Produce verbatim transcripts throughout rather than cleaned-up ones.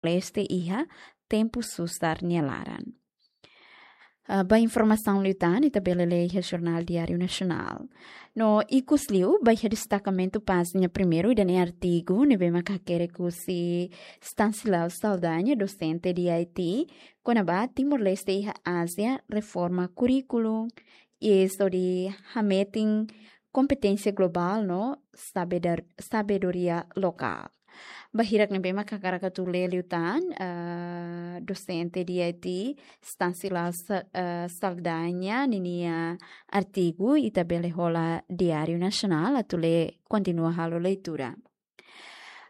Timor-Leste iha tempu susar nia laran. Ah, ba informasaun liután, ita bele lee iha Jornál Diáriu Nasionál. No ikus liu, ba iha destakamentu pájina primeiru ida-ne'e artigu ne'ebé mak hakerek husi Stanislau Saldanha, dosente de I T, kona-ba Timor-Leste iha Ázia, reforma kurríkulu, i estu di hametin kompeténsia globál no sabedar-, sabedoria lokál. Ba hirak ne'ebé mak hakarak atu lee liután, eh, dosente de I T, Stanislau Sa-, eh, Saldanha ninia artigu, ita bele hola Diáriu Nasionál atu lee, kontinua halo leitura.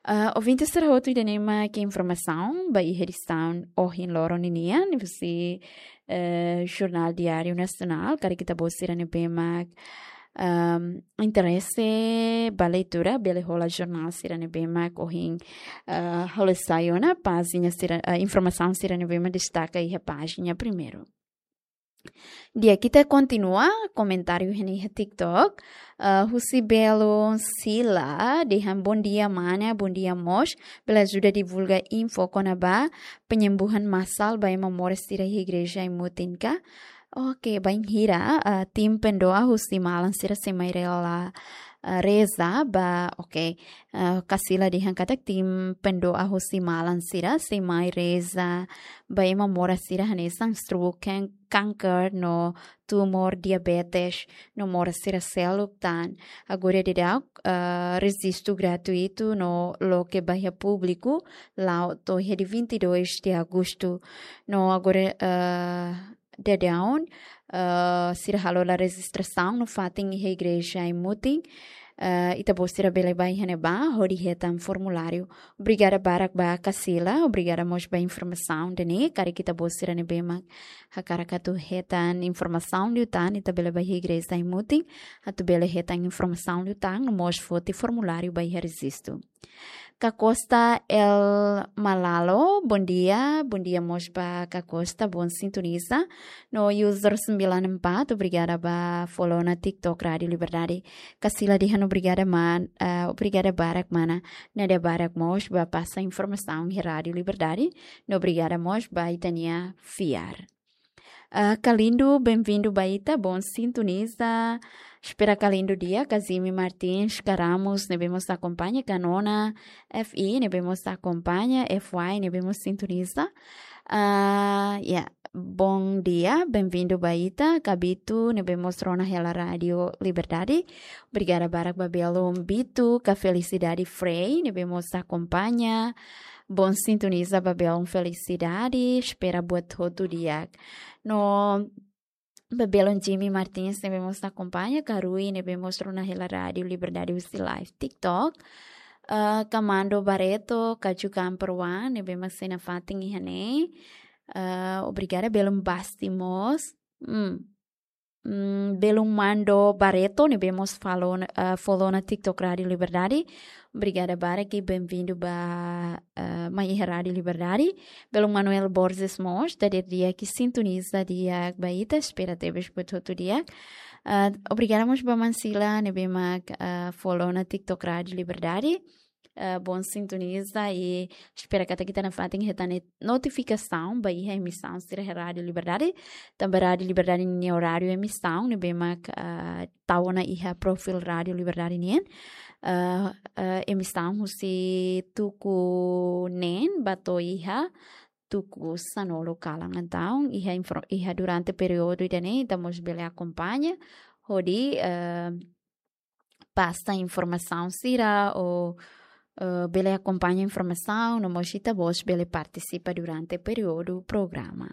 Eh, ouvinte sira hotu, ida-ne'e mak informasaun ba iha edisaun ohin loron ninian, husi, eh, Jornál Diáriu Nasionál, karik ita-boot sira ne'ebé mak, ehm, interese ba leitura, bele hola jornál sira ne'ebé mak ohin, eh, halo sai ona pájina sira, eh, informasaun sira ne'ebé mak destaka iha pájina primeiru. Di'ak, ita kontinua komentáriu iha TikTok. Eh, husi belun Sila, dehan bom dia mana, bom dia mós. Bele ajuda divulga info kona-ba penyembuhan massal ba ema moras sira iha igreja Aimutin ka? Oke, bainhira, eh, tim pendoa husi malan sira sei mai rela, eh, reza ba, oke. Eh, Kasila dehan katak tim pendoa husi malan sira sei mai reza ba ema moras sira hanesan stroke, kan-, kanker no tumór, diabetes no moras sira seluk tan. Agora daudaun, eh, rejistu gratuitu no loke ba iha públiku la'o to'o iha dia vinte e dois de agosto. No agora, eh, daudaun, eh, sira halo ona rejistrasaun no fatin iha igreja Aimutin. Eh, ita-boot sira bele bá iha ne'ebá hodi hetan formuláriu. Obrigada barak ba Kasila, obrigada mós ba informasaun ida-ne'e, karik ita-boot sira ne'ebé mak hakarak atu hetan informasaun liután, ita bele bá iha igreja Aimutin atu bele hetan informasaun liután, no mós foti formuláriu ba iha rejistu. Ka Costa El Malalo, bom dia. Bom dia mós ba Ka Costa, bom sintoniza. No user sembilan empat, obrigada ba follow ona TikTok Rádio Liberdade. Kasila dehan obrigada man, eh, obrigada barak mana. Nada barak mós ba pasa informasaun iha Rádio Liberdade. No obrigada mós ba ita-nia fiar. Ah, Kalindo, bem-vindo ba ita, bom sintoniza. Espera Kalindo di'ak, Kazimi Martins, Ka Ramos, ne'ebé mós akompaña, Ka Nona, F I, ne'ebé mós akompaña, F Y, ne'ebé mós sintoniza. Ah, ya, bom dia, bem-vindo ba ita, Ka Bitu, ne'ebé mós rona hela Rádio Liberdade. Obrigada barak ba belun Bitu, Ka Felicidade Frei, ne'ebé mós akompaña. Bom sintoniza ba belun Felicidade, espera buat hotu di'ak. No ba belun Jimmy Martins ne'ebé mós akompaña, Ka Rui ne'ebé mós rona hela Rádio Liberdade husi live TikTok. Eh, Ka Mando Barreto, Ka Jukan Perwan, ne'ebé mak sei nafatin iha ne'e. Eh, obrigada belun Basti mós. Hmm. Mm, belun Mando Barreto, ne'ebé mós follow ona, eh, follow ona TikTok Rádio Liberdade. Obrigada barak i bem-vindo ba, eh, mai iha Rádio Liberdade. Belun Manuel Borges mós, dadeer di'ak sintoniza di'ak ba ita, espera tebes buat hotu di'ak. Eh, obrigada mós ba Mansila, ne'ebé mak, eh, follow ona TikTok Rádio Liberdade. Eh, bom sintoniza i espera katak ita nafatin hetan notifikasaun ba iha emisaun sira iha Rádio Liberdade. Tanba Rádio Liberdade nia oráriu emisaun ne'ebé mak, eh, tau ona iha perfil Rádio Liberdade nian. Eh, eh, emisaun husi tuku neen ba to'o iha tuku sanulu kalan. Entaun, iha info-, iha durante períodu ida-ne'e, ita mós bele akompaña hodi, eh, pasa informasaun sira ou, eh, bele akompaña informasaun, no mós ita-boot bele partisipa durante períodu programa.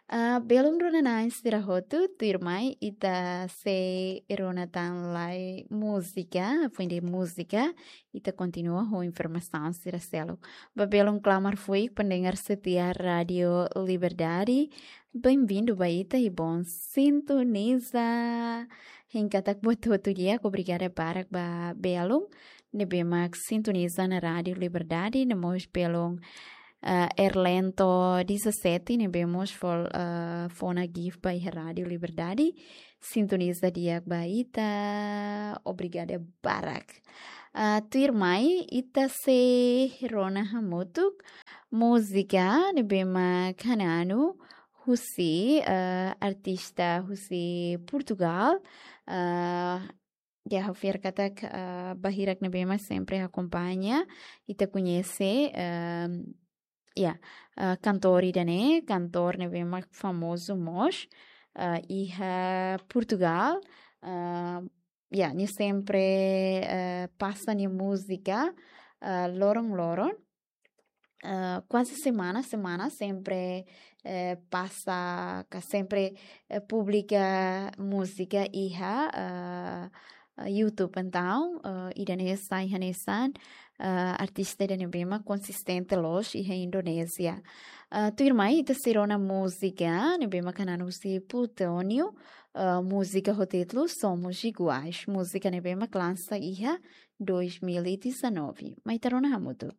Ah, belun rona-na'in sira hotu, tuirmai ita sei rona tan lai múzika, fim de múzika, ita kontinua ho informasaun sira seluk. Ba belun Klamar Fuik, pendengar setia Rádio Liberdade, bem-vindo ba ita i bom sintoniza. Hein katak buat hotu di'ak, obrigada barak ba belun ne'ebé mak sintoniza ona Rádio Liberdade, no mós belun, eh, Erlento dezassete, ne'ebé mós fó, eh, fó ona gift ba iha Rádio Liberdade. Sintoniza di'ak ba ita, obrigada barak. Ah, tuirmai ita sei rona hamutuk múzika ne'ebé mak hananu husi, ah, artista husi Portugal. Ah, ya, ha'u fiar katak, ah, barak ne'ebé mak sempre akompaña, ita koñese, ah, ya, ah, kantór ida-ne'e, kantór ne'ebé mak famozu mós, ah, iha Portugal. Ah, ya, nia sempre, ah, pasa nia múzika, ah, loron-loron. Ah, kuaze semana, semana sempre, eh, pasa, ka sempre, eh, publika múzika iha, ah, ah, YouTube. Entaun, ah, ida-ne'e sai hanesan, ah, artista ida ne'ebé mak konsistente loos iha Indonézia. Ah, tuirmai ita sei rona múzika ne'ebé mak hananu husi Plutónio, ah, múzika ho títulu Somos Iguais. Múzika ne'ebé mak lansa iha dois mil e dezanove. Mai ita rona hamutuk.